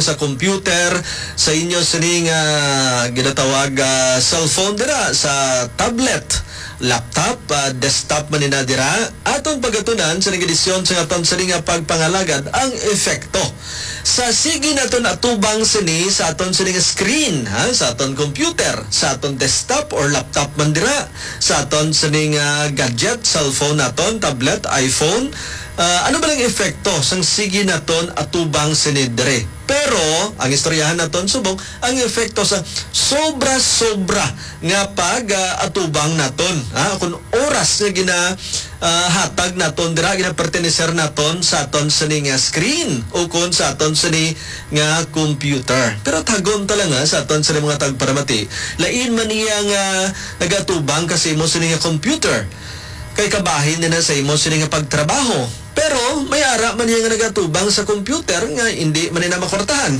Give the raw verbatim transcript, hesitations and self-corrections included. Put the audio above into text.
sa computer, sa inyo sini nga ginatawag, ah, cellphone dira, sa tablet, laptop, ah, desktop man ina dira, aton pagatunan sa edisyon sa aton sini nga pagpangalagad ang epekto sa sige naton atubang sini sa aton sini nga screen, ha, sa aton computer, sa aton desktop or laptop man dira, sa aton sini nga gadget, cellphone naton, tablet, iPhone. Ah, ano ba ang epekto sang sige naton atubang sini diri? Pero ang istoryahan naton subong ang epekto sa sobra-sobra nga pag, ah, atubang naton, ha? Kung oras nga gina, ah, hatag naton dira, ginaperteneser naton sa aton sini nga screen o kon sa aton sini nga computer. Pero tagon ta lang, ha, sa aton sini mga tagparamati, lain man iya nga nagatubang ka sa imo sini nga computer, kay kabahin na sa imo sini nga pagtrabaho. Pero may ara man iya nga nagatubang sa computer nga hindi man ina makwartahan.